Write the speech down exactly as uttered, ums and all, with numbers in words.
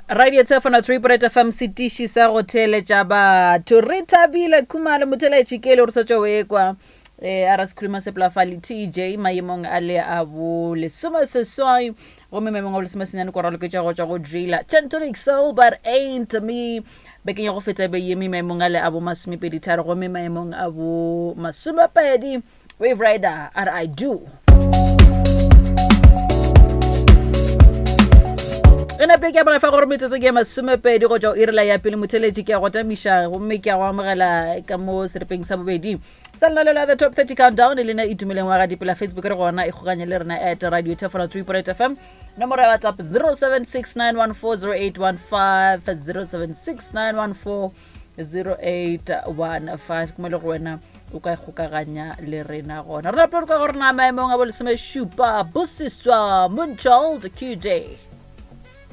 Radio Tshefana three point F M setiši sa go theeletša batho. Re thabile Khumalo motheeletši ke le gore sa tšwa o ekwa. Eh, a ra sekhuruma sepolafale T J maemong a le a bo lesome seswai gomme maemong a bo lesome senyane ko raloketša go tšwa go Driller Chantonic Soul but ain't me. Bekeng ya go feta be yeme maemong a le a bo masomepedi tharo gomme maemong a bo masomepedi Wave Rider R I do. E nape ke a bona fa gore metsotso ke ya masomepedi go tšwa iri la ya pele motheletši ke a go tamiša gomme ke a go amogela ka mo seripeng sa bobedi sa lenaneo la The Top thirty Countdown le lena Itumeleng wa ga Dipela. Facebook re gona e kgokanye le rena at Radio Thefolo three point F M, nomoro ya WhatsApp zero seven six nine one four zero eight one five, zero seven six nine one four zero eight one five. Ke mo le go wena o ka ikgokaganya le rena gona. Re nape re kwa gore na maemong a bo lesomešupa Bosiswa Moonchild Q J.